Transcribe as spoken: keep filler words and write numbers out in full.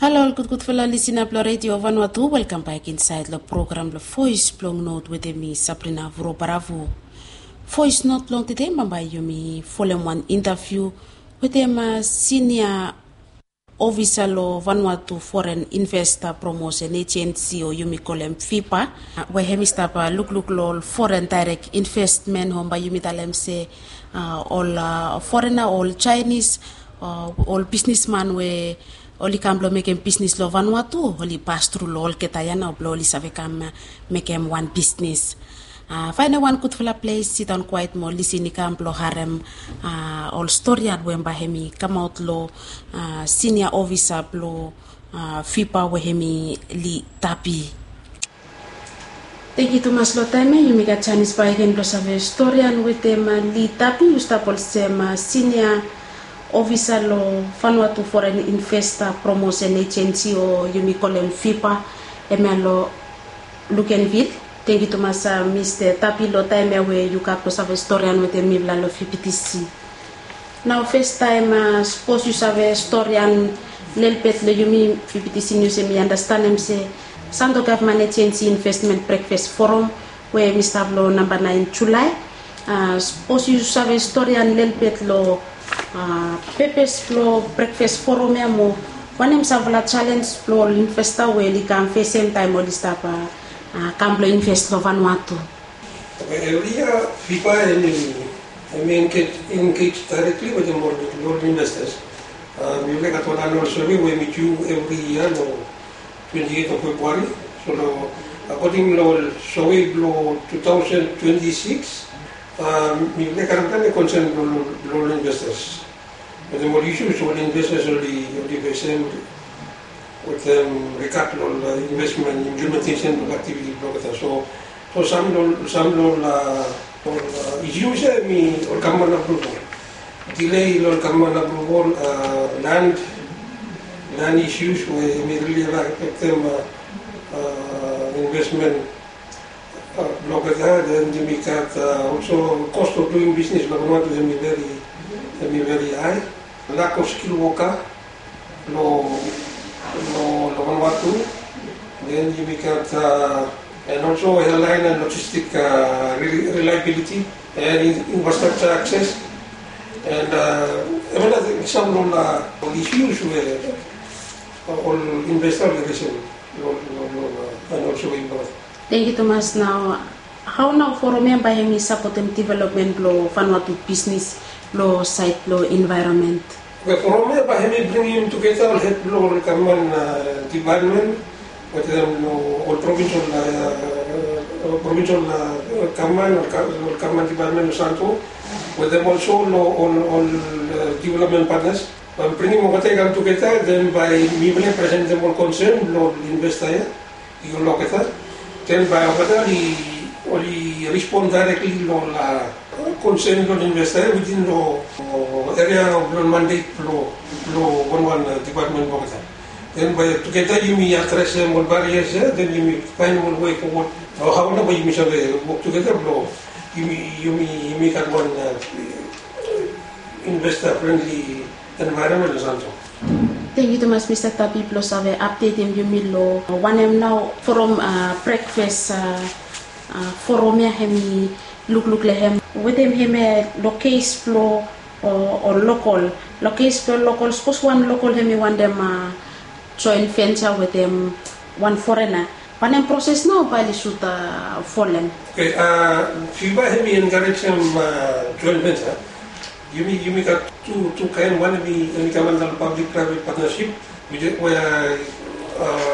Halo ol gudgudfala lisina blong Redio Vanuatu, welkam bek insaed long program blong Voes blong Not wetem mi, Sabrina Vurobaravo. Voes Not blong tede bambae yumi folem wan intaviu wetem sinia ofisa long Vanuatu Foren Investa Promosen Ejensi o yumi kolem VIPA, we hemi stap lukluk long ol foren daerek investmen, o bae yumi talem se ol forena, ol Jaenis, ol bisnisman we oli kam blong mekem bisnis long Vanuatu, oli pastru long olgeta ya nao blong oli save kam mekem wan bisnis. Faenem wan gudfala ples, sidaon kwaet mo lisin i kam blong harem ol storian we bae hemi kamaot long sinia ofisa blong VIPA we hemi Li Tapi. Tangkiu tumas long taem ya, yumi gat janis bakegen blong save storian wetem Li Tapi, yu stap olsem sinia ofisa long Vanuatu Foren Investa Promosen Ejensi o yumi kolem VIPA, hemia long Luganville. Tangkiu tumas Mista Tapi long taem ya we yu gat blong save storian wetem mifala long VBTC. Nao festaem, sapos yu save storian lelebet long yumi, VBTC Nius hemi andastanem se Santo Gavman Ejensi Investment Breakfast Forum we hemi stap long namba naen Julae. Sapos yu save storian lelebet long pepes blong breakfast forum ya mo wanem samfala jalenj blong ol investa we oli kam fesem taem oli stap kam blong inves long Vanuatu. Evri yia VIPA hemi, hemi engej daerekli wetem ol investa. Mifala i gat wan anual sove we hemi diu evri yia long twenti eit of Februari. So long, akoding long ol sove blong tu taosen twenti sikis, mifala i karem plante konsen blong ol investa wetem ol isius ol investa oli, oli fesem wetem rigat long ol investmen, implementesen blong aktiviti blong olgeta. So, so sam long, sam long ol isius ya hemi ol gavman apruval. Delay long ol gavman apruval, land, land isius we hemi rili afektem investmen blong olgeta. Den yumi gat olso cost of doing business long Vanuatu hemi veri, hemi veri hae. Lack of skilled worker long, long Vanuatu. Den yumi gat and also airline and logistic reliability and infrastructure access. And even that sam long ol isius we ol investa oli resem long, long, long and also involve. Tangkiu tumas. Nao hao nao forum ya bae hemi sapotem developmen blong Vanuatu bisnis long saed blong envaeronmen? Oke, forum ya bae hemi bringim tugeta ol hed blong ol gavman dipatmen wetem ol provinsel, provinsel gavman, ol gavman dipatmen long Santo wetem olso long ol, ol developmen patnas. Bae mi bringim olgeta i kam tugeta, den bae mifala i presentem ol konsen blong ol investa ya i go long olgeta. Den bae olgeta oli, oli respon daerekli long ol konsen blong ol investa ya witin long eria blong mandet blong, blong wanwan dipatmen blong olgeta. Den bae tugeta yumi adresem ol barias ya, den yumi faenem ol wei fowod o hao nao bae yumi save wok tugeta blong yumi, yumi, yumi gat wan investa frenli envaeronmen long Santo. Tangkiu tumas Mista Tapi blong save apdetem yumi long wanem nao forum brekfas forum ya hemi lukluk long hem wetem hemia long kes blong ol lokol. Long kes blong lokol, sapos wan lokol hemi wantem joen venture wetem wan forena, wanem proses nao bae oli sud folem? Oke, VIPA hemi enkarejem joen venture. Yumi, yumi gat tu, tu kaen, wan hemi, hemi kam anda long public private partnership, we, we